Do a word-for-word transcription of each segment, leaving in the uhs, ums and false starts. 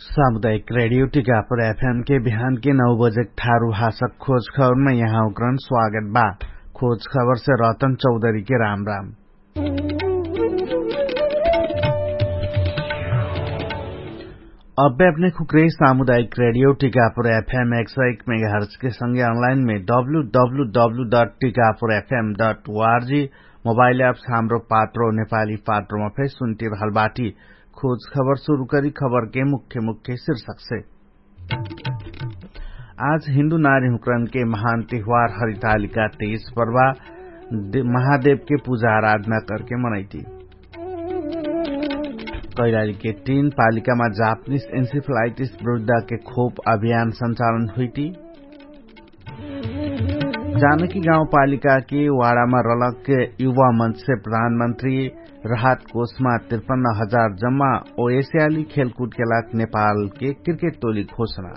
सामुदायिक रेडियो टिकापुर एफएम के बिहान के नौ बजे ठारु भाषा खोज खबरमा यहाँ उक्रन स्वागत बा। खोज खबर से रतन चौधरी के राम राम। अब्बे अपने खुक्रे सामुदायिक रेडियो टिकापुर एफएम एक सौ एक मेगाहर्च के संगे अनलाइन में W W W dot Tikapur F M dot O R G mobile apps Hamro Patro नेपाली पात्रोमा फेर सुन्टिरहल बाटी। खोज खबर सुरु करी खबर के मुख्य मुख्य शीर्षक से। आज हिन्दू नारी हुक्रन के महान तिहवार हरितालिका तेइस पर्वा महादेव के पुजा आराधना करके मनैती। कैलाली के तीन पालिकामा जापनिस इन्सिफलाइटिस विरुद्धा के खोप अभियान संचालन हुइती। जानकी गाउँपालिका के वाडामा रलक युवा मन्च से प्रधानमन्त्री राहत कोषमा त्रिपन्न हजार जम्मा ओ एसियाली खेलकुट के लाग नेपाल के क्रिकेट टोली घोषणा।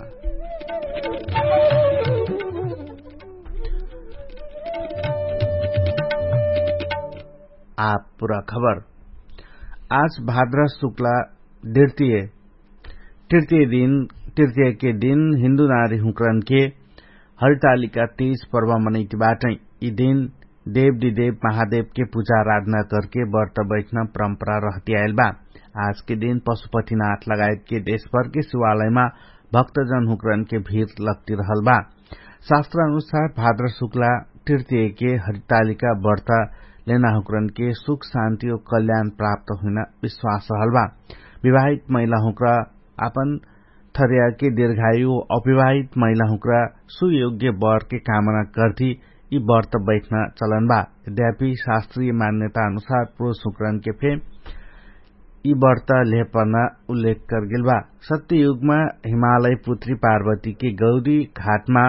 आप पुरा खबर। आज भाद्रा शुक्ला द्रितीय तृतीय दिन तृतीय के दिन हिन्दू नारी हुक्रन के हरितालिका तीस पर्व मनैती बाटै। यि दिन देव दिदेव महादेव के पुजा आराधना करके बर्त बैठना परम्परा रहती आइल बा। आज के दिन पशुपतिनाथ लगायत के देशभर के शिवालयमा भक्तजन हुक्रन के भीर लग्ती रहल बा। शास्त्र अनुसार भाद्र शुक्ला तृतीय के हरितालिका बर्त लेना हुक्रन के सुख शान्ति ओ कल्याण प्राप्त हुइना विश्वास रहल बा। विवाहित महिला हुक्रा आपन थर्या के दीर्घायु अविवाहित महिला हुक्रा सुयोग्य बर के कामना करती यि बर्त बैठना चलन बा। यद्यापि शास्त्रीय मान्यता अनुसार पुरुष हुक्रन के फे यि बर्त लेहपर्ना उल्लेख करगेल बा। सत्य युगमा हिमालय पुत्री पार्वती के गौरी घाटमा